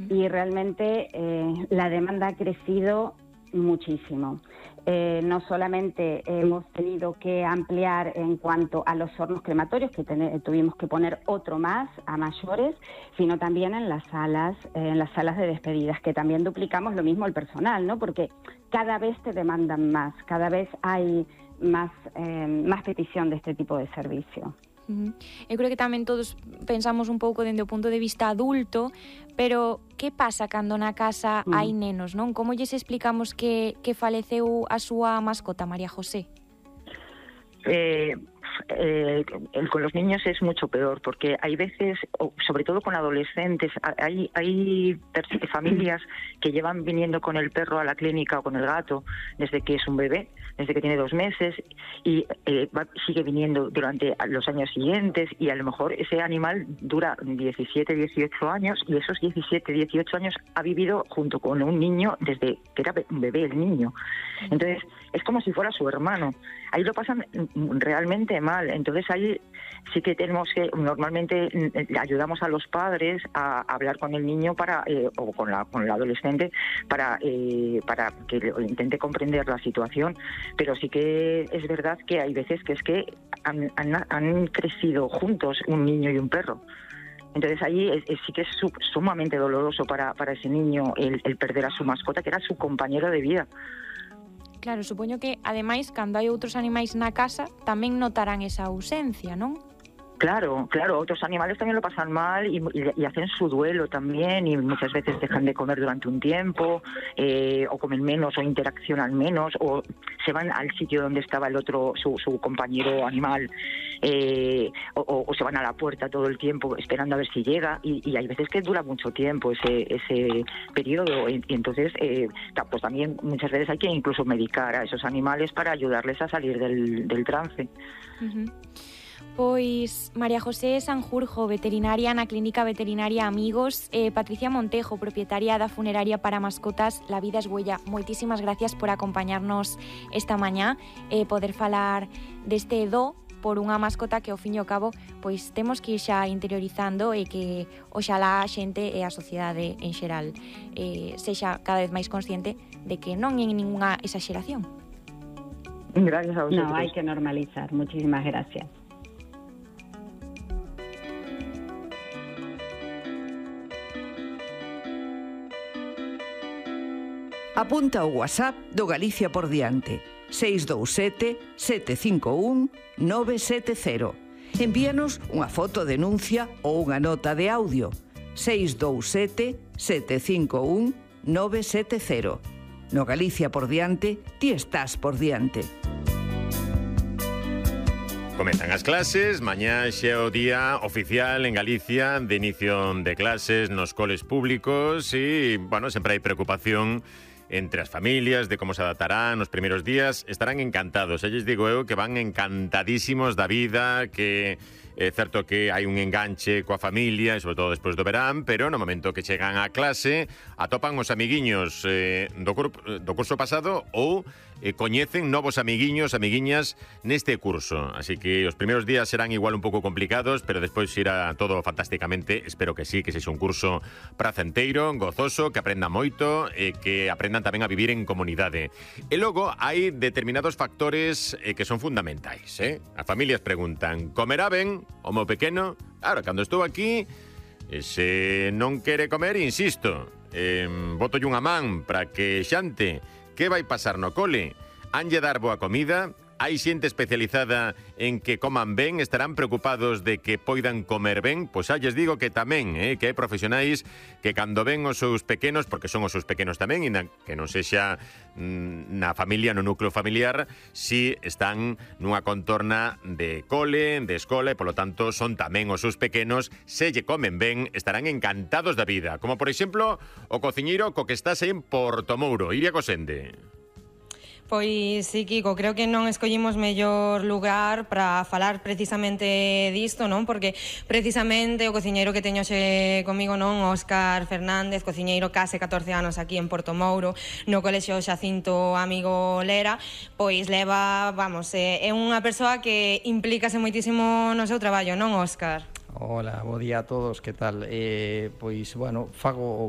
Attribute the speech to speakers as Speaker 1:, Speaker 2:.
Speaker 1: y realmente la demanda ha crecido muchísimo. No solamente hemos tenido que ampliar en cuanto a los hornos crematorios, que tuvimos que poner otro más a mayores, sino también en las salas de despedidas, que también duplicamos lo mismo el personal, ¿no? Porque cada vez te demandan más, cada vez hay más petición de este tipo de servicio.
Speaker 2: Eu creo que tamén todos pensamos un pouco dende o punto de vista adulto, pero que pasa cando na casa hai nenos, non? Como lles explicamos que faleceu a súa mascota, María José?
Speaker 3: Con los niños es mucho peor, porque hay veces, sobre todo con adolescentes, hay familias que llevan viniendo con el perro a la clínica o con el gato desde que es un bebé, desde que tiene 2 meses, y sigue viniendo durante los años siguientes, y a lo mejor ese animal dura 17, 18 años, y esos 17, 18 años ha vivido junto con un niño desde que era un bebé el niño. Entonces, es como si fuera su hermano. Ahí lo pasan realmente mal. Entonces ahí sí que tenemos que, normalmente ayudamos a los padres a hablar con el niño o con el adolescente para que intente comprender la situación. Pero sí que es verdad que hay veces que es que han crecido juntos un niño y un perro. Entonces ahí sí que es sumamente doloroso para ese niño el perder a su mascota, que era su compañero de vida.
Speaker 2: Claro, supoño que, ademais, cando hai outros animais na casa, tamén notarán esa ausencia, non?
Speaker 3: Claro, otros animales también lo pasan mal y hacen su duelo también, y muchas veces dejan de comer durante un tiempo, o comen menos, o interaccionan menos, o se van al sitio donde estaba el otro, su compañero animal, o se van a la puerta todo el tiempo esperando a ver si llega, y hay veces que dura mucho tiempo ese periodo, y entonces pues también muchas veces hay que incluso medicar a esos animales para ayudarles a salir del trance.
Speaker 2: Pois María José Sanjurjo, veterinaria na Clínica Veterinaria Amigos, Patricia Montejo, propietaria da funeraria para mascotas La Vida es Huella. Moitísimas gracias por acompañarnos esta mañá e poder falar deste do por unha mascota que ao fin e ao cabo pois temos que ir xa interiorizando, e que oxalá a xente e a sociedade en xeral sexa cada vez máis consciente de que non é ninguna exageración.
Speaker 3: Gracias a vosotros.
Speaker 1: No, hai que normalizar. Muchísimas gracias.
Speaker 4: Apunta o WhatsApp do Galicia por diante: 627 751 970. Envíanos unha foto denuncia ou unha nota de audio: 627 751 970. No Galicia por diante, ti estás por diante.
Speaker 5: Comezan as clases, mañá xa é o día oficial en Galicia de inicio de clases nos coles públicos e, bueno, sempre hai preocupación entre as familias de como se adaptarán nos primeiros días. Estarán encantados, lles digo eu que van encantadísimos da vida, que é certo que hai un enganche coa familia, e sobre todo despois do verán, pero no momento que chegan á clase atopan os amiguiños do curso pasado ou coñecen novos amiguiños, amiguiñas neste curso. Así que os primeiros días serán igual un pouco complicados, pero despois irá todo fantásticamente. Espero que sí, que sexa un curso pracenteiro, gozoso, que aprendan moito e que aprendan tamén a vivir en comunidade. E logo hai determinados factores que son fundamentais. As familias preguntan: comerá ben o meu pequeno? Claro, cando estou aquí, se non quere comer, insisto, botolle unha man para que xante. Que vai pasar no cole? Hanlle dar boa comida? Hai xente especializada en que coman ben? Estarán preocupados de que poidan comer ben? Pois xa lles digo que tamén, que hai profesionais que cando ven os seus pequenos, porque son os seus pequenos tamén, e que non sexa na familia, no núcleo familiar, si están nunha contorna de cole, de escola, e polo tanto son tamén os seus pequenos. Se lle comen ben, estarán encantados da vida. Como por exemplo o cociñeiro co que estás en Portomouro, Iria Cosende.
Speaker 6: Pois sí, Kiko, creo que non escollimos mellor lugar para falar precisamente disto, non? Porque precisamente o cociñeiro que teño xe comigo, non, Óscar Fernández, cociñeiro case 14 anos aquí en Portomouro, no colexio Xacinto Amigo Lera, pois leva, vamos, é unha persoa que implícase moitísimo no seu traballo, non, Óscar?
Speaker 7: Hola, bo día a todos, que tal? Pois, bueno, fago